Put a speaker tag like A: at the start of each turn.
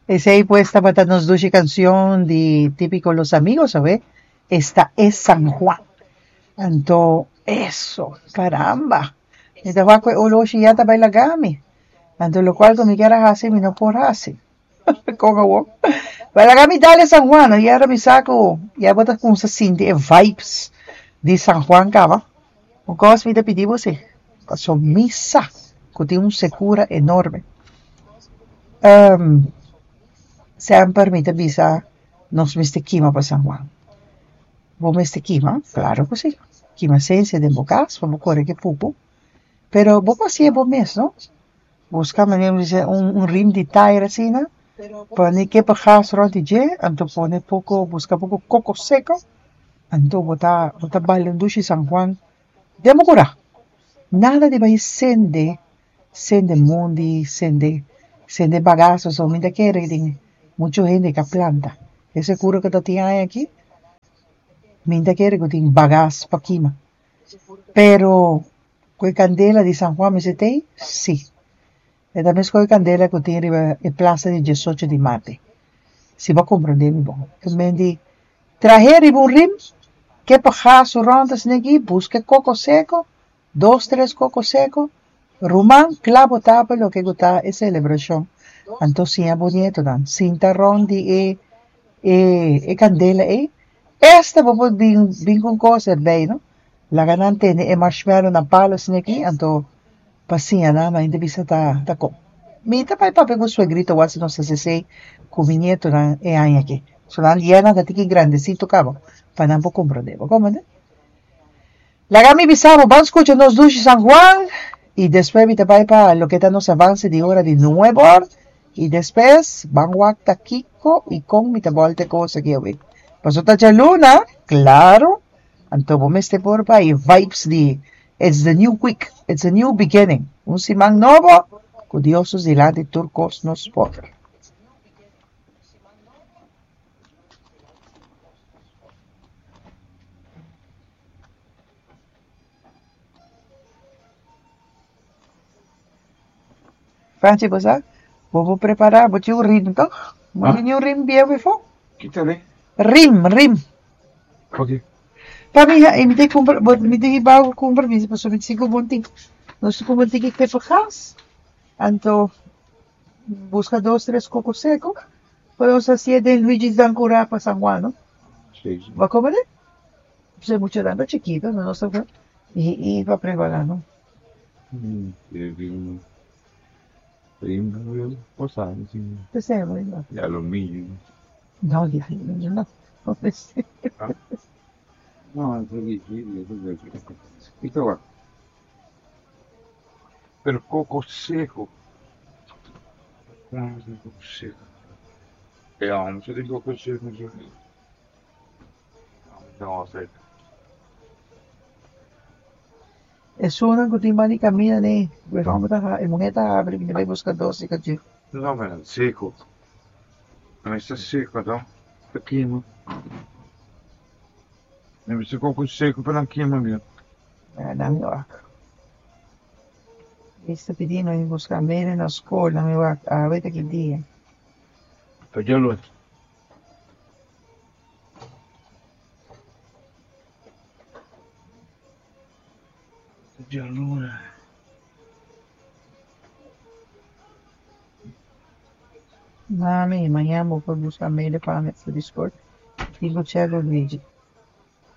A: Esei pues tabata nos dushi cancion di Típico Los Amigos, awe. Esta e San Juan. Anto, eso, caramba. Mi ta wak ku e oloshi ya ta bai laga mi. Anto lokual ku mi kier a hasi mi no por hasi. Kon awor? Bai laga mi dal e San Juan, no? Ya mi sa ku ya bo ta kumsa sinti e vibes di San Juan kaba. Un kos mi ta pidi bo si, paso mi sa ku tin un sekura enorme. Semper mi ta bisa nos mester kima pa San Juan. Bo mester kima? Klaro ku si. Kima sensia den bo kas pa bo kore ku e pupu. Pero bo por hasié bo mes, no? Buska manera mi bisa un rim di tayer asina, pone kepa gas rònt di dje, anto pone poko buska poko koko seko, anto bo ta bo ta baila un dushi San Juan den bo kurá. Nada di bai sende, sende mondi, sende sende bagas pasobra mi ta kere den muchu hende ka planta. E sekuro ku ta tin aña aki, mi ta kere ku tin bagas pa kima. Pero ku e kandela di San Juan mester t'ei? Sí. E ta meskos e kandela ku tin riba e plasa di diesocho di marte. Si bo a komprendé mi bon. E men di trah'é riba un rim, ke pa gasu rònt asina aki, buska e koko seko, dos tres koko seko, ruman kla bo ta pa loke ku ta e selebrashon. Anto siña bo nietonan sinta rònt di e e kandela ei. Esta bo por bin bin ku un kos erbei no. Laga nan tene e marshmallow na palo asina aki anto pa siña nan nan ta bisa ta ta kon. Mi ta bai papia ku suegrito wak si nos hasi esei ku mi nietonan e aña aki. So nan ya nan ta tiki grandesito kaba pa nan por komprende. Bo komprende? Laga mi bisa bo ban skucha nos dushi San Juan i despues mi ta bai pa loke ta nos avance di ora di nuebe or i despues ban wak ta kiko i kon mi ta bolta e kos aki awe. Pasobra ta djaluna, klaro. Anto bo mester por bai e vibes di it's the new week, it's a new beginning, un siman nobo ku Dios nos dilanti tur kos nos por. Franchi bo sa bo por prepara bo tin un rim toch? Bo tin un rim bieu befo?
B: Kita rim?
A: Rim, rim.
B: Oke.
A: Pa mi ha, mi te kumpra, bo mi te hiba kumpra mi pasobra mi sigu bon tin. Nos ta kumpra tiki peper gas, anto buska dos tres koko seko, pa nos hasié den Luigi's Dan Kurá pa San Juan, no?
B: Si, si.
A: Bo a kome den? Pasobra e muchanan ta chikito, no nos ta i pa prepará, no?
B: Di aluminio.
A: No, di aluminio no.
B: No, es difícil, es difícil. Pero coco seco. Coco seco. Ja, moet je coco seco zo. No, seco.
A: Esunnan ku tin mali kaminda ne, e hòmber ta e muhé ta habri bini bai buska dos di kachó.
B: No, pero seco. No esta seco to, ta kima. Mi bisa koko seco pa nan kima bien.
A: Ya nan wak. Esta pidi mi buska mere na skol, nan mi wak awe ta ki dia.
B: Ta djaluna. Djaluna.
A: Mami, mañana bo por busca mele pa mi for di skol. Tin ku chek ku Luigi.